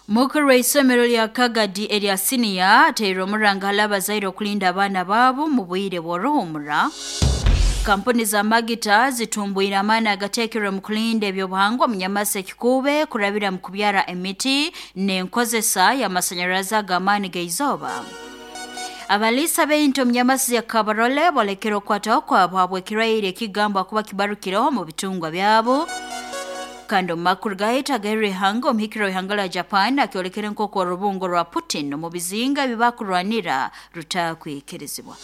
Mukuru w'isomero lya Kagadi erya siniya ateire omuranga hali abazaire okulinda abaana baabo mu bwire bw'oruhumura. Kampuni za magita zitumbwire amaani agateekerwe mu kulinda ebyobuhangwa munyamasi ekikuube kurabira mu kubyara emiti n'enkozesa y'amasanyarazi ag'amaani g'eizooba. Abaliisa b'ente omu nyamasi ya Kabarole bolekere okukwataho kwabo habw'ekirwaire ekigambwa kuba kibarukireho mu bitungwa byabo. Kandi omu makuru gaitu agairwe ihanga, omuhikiro w'ihanga lya Japan akyolekere nk'oku orubungo rwa Putin omu bizinga ebi bakurwanira rutakwikirizibwa.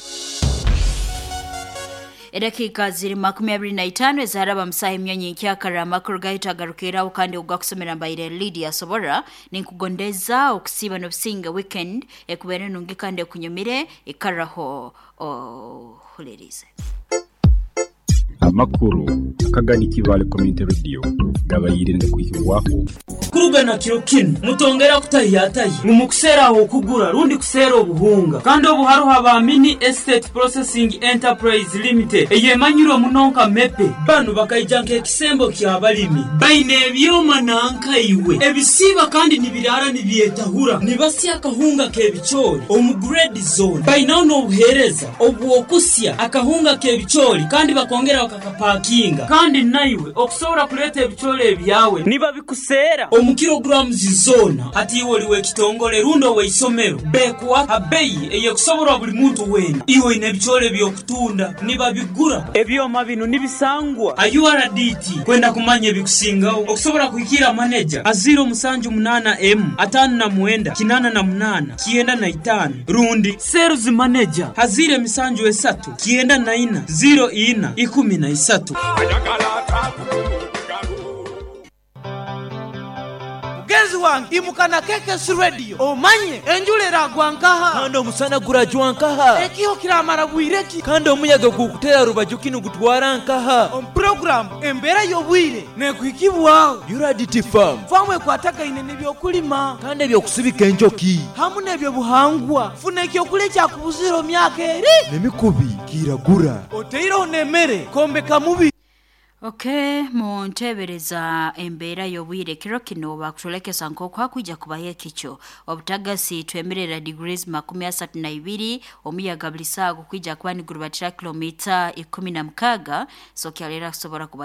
Edakiika ziri 25 ezaraba musaha emyonyi nkyakara, amakuru gaitu agarukiraho kandi ogakusomera mbaire Lydia Sobora. Ninkugondeza okusiiba n'obusinge, weekend ekubeere nungi kandi ekunyumire. Ikaraho ohulirize. Amakuru akagani Kibale Community Radio gabaire nigakwihibwaho. Kuruga na kiro kinu mutongera kutahiyatahya ngu mukuseera ah'okugura rundi kuseera obuhunga. Kandi obu haroho aba Mini Estate Processing Enterprise Limited eyemanyirwe muno nka MEPE. Banu bakaija nk'ekisembo ky'abalimi. Baine ebyoma nanka iwe ebisiiba kandi nibiraara nibyetahura. Nibasya akahunga k'ebicoori omu grade zoona. Bainaho n'obuheereza obw'okusya akahunga k'ebicoori kandi bakongera bakakapakinga. Kandi naiwe okusobora kuleeta ebicoori ebyawe nibabikuseera omu kilograms zoona. Hati iwe oli w'ekitongole rundi ow'eisomero, beekuha ha beyi ey'ekusoborwa buli muntu weena. Iwe oine ebicoori eby'okutunda, nibabigura. Ebyoma binu nibisangwa ha URDT. Kwenda kumanya ebikusingaho, okusobora kuhikiira maneja ha 078 emu 59 88 95 rundi Sales Manager ha 073 94 04 13. Mugenzi wange, imuka na KKC Radio omanye enjura eragwa nkaha. Kandi omusana gurajwa nkaha. Ekiho kiramara bwire ki. Kandi omuyaga ogurikuteera rubaju ki nigutwara nkaha. Omu puroguraamu Embeera y'Obwire neekuhikibwaho. Uradity Farm. Faamu ekwatagaine n'eby'okulima. Kandi eby'okusibika enjoki. Hamu n'eby'obuhangwa. Funa eky'okulya ekyakubuzire omu myaka eri. N'emikubi kiiragura. Otaireho n'emere kwombeka mubiri. Ok, munteebereza embeera y'obwire kiro kinu bakutwolekesa nk'oku hakwija kubaho ekicu, obutagasi twemerera degrees 32, omuyaga buli saaha gukwija kuba nigurubatira kilomita 16, so kyaleera kusobora kuba.